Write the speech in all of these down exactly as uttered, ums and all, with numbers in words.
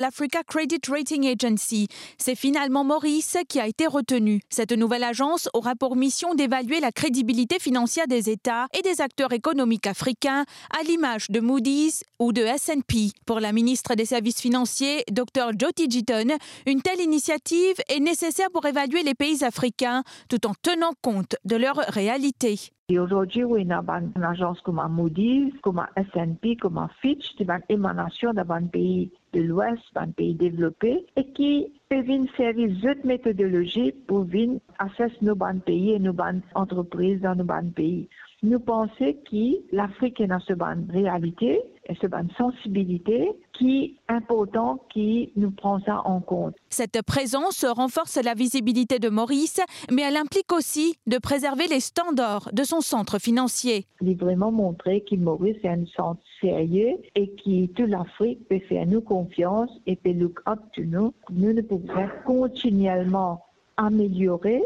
l'Africa Credit Rating Agency. C'est finalement Maurice qui a été retenu. Cette nouvelle agence aura pour mission d'évaluer la crédibilité financière des États et des acteurs économiques africains, à l'image de Moody's ou de S and P. Pour la ministre des Services financiers, Dr Jyoti Jitan, une telle initiative est nécessaire pour évaluer les pays africains tout en tenant compte de leur réalité. E azordi, wi, ena bann azans kouma Moody's, kouma S and P, kouma Fitch, ki bann emanasion dan bann pei de Lwes, bann pei devlope, e ki pe vinn servi zot metodolozi pou vinn assess nou bann pei e nou bann antrepriz dan nou bann pei. Nou panse ki Lafrik ena so bann realite e so bann sansibilite ki inportan ki nou pran sa an kont. Cette présence renforce la visibilité de Maurice, mais elle implique aussi de préserver les standards de son centre financier. Li vreman montre ki Moris se enn sant serye e ki tou Lafrik pe fer nou konfians e pe look up to nou. Nou, nou pou bizin kontinielman ameliore,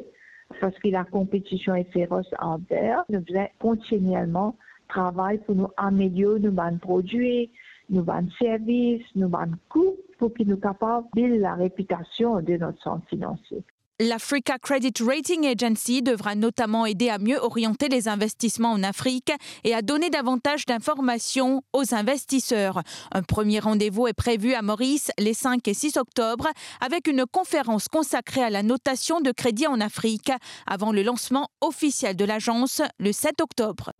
parski lakonpetision e feros out there. Nou bizin kontinielman travay pou nou amelior nou bann prodwi, nou bann servis, nou bann kou, pou ki nou kapav build larepitasion de not sant finansie. L'Africa Credit Rating Agency devra notamment aider à mieux orienter les investissements en Afrique et à donner davantage d'informations aux investisseurs. Un premier rendez-vous est prévu à Maurice les cinq et six octobre avec une conférence consacrée à la notation de crédit en Afrique avant le lancement officiel de l'agence le sept octobre.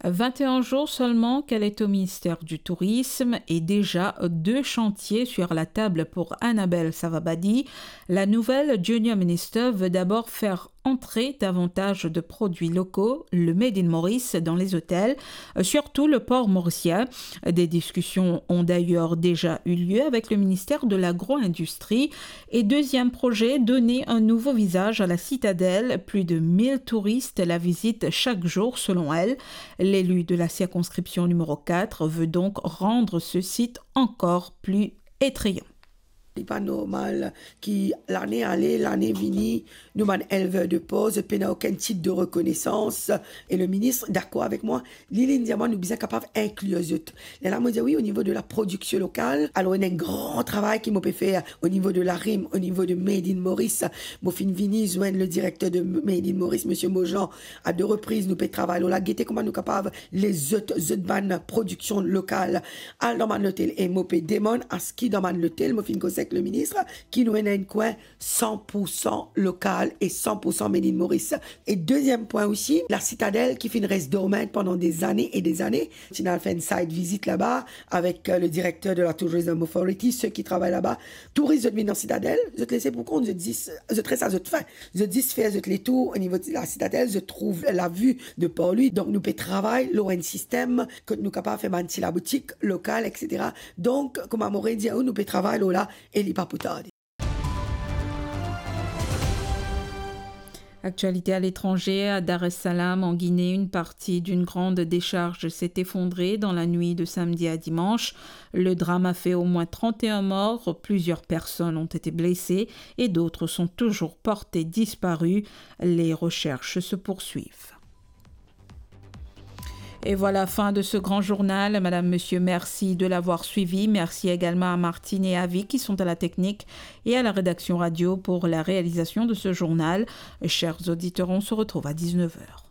Vingt et un jours seulement qu'elle est au ministère du Tourisme et déjà deux chantiers sur la table pour Annabelle Savabadi. La nouvelle Junior Minister veut d'abord faire entrer davantage de produits locaux, le Made in Maurice, dans les hôtels, surtout le port mauricien. Des discussions ont d'ailleurs déjà eu lieu avec le ministère de l'Agro-industrie. Et deuxième projet, donner un nouveau visage à la citadelle. Plus de mille touristes la visitent chaque jour, selon elle. L'élu de la circonscription numéro quatre veut donc rendre ce site encore plus attrayant. Li pa normal ki lane ale, lane vini, nou bann elver de por, zot pena okenn tit de rekonesans. E le minis dakor avek mwa, li, li dir mwa nou bizin kapav inklir zot. Lerla mo dir wi, o nivo de la prodiksion lokal, alor ena enn gran travay ki mo pe fer o nivo de larim, o nivo de Made in Maurice. Mo finn vini zwenn le direkter de Made in Maurice, misie Mojan, a de repriz. Nou pe travay lor la, gete kouma nou kapav les zot, zot bann prodiksion lokal al dan bann lotel. E mo pe demann aski dan bann lotel, mo finn koz ek le minis, ki nou ena enn kwin san pour san lokal e san pour san Made in Maurice. E deziem pwin osi, la Citadelle ki finn res dormant pandan dezane e dezane. Ti al fer enn site visit laba avek, euh, le direkter de la Tourism Authority, seki travay laba. Touris, zot vinn dan Citadelle, zot lese pou kont, zot zis, zot res a zot fin. Zot zis fer zot letour o nivo de la Citadelle, zot trouv la vue de Port-Louis. Donk nou pe travay lor enn sistem kot nou kapav fer bann ti laboutik lokal, et cetera. Donk, kouma mo dir aou, nou pe travay lor la e li pa pou tarde. Actualité à l'étranger, à Dar es Salaam, en Guinée, une partie d'une grande décharge s'est effondrée dans la nuit de samedi à dimanche. Le drame a fait au moins trente et un morts, plusieurs personnes ont été blessées et d'autres sont toujours portées disparues. Les recherches se poursuivent. Et voilà, fin de ce grand journal. Madame, monsieur, merci de l'avoir suivi. Merci également à Martine et Avi qui sont à la technique et à la rédaction radio pour la réalisation de ce journal. Chers auditeurs, on se retrouve à dix-neuf heures.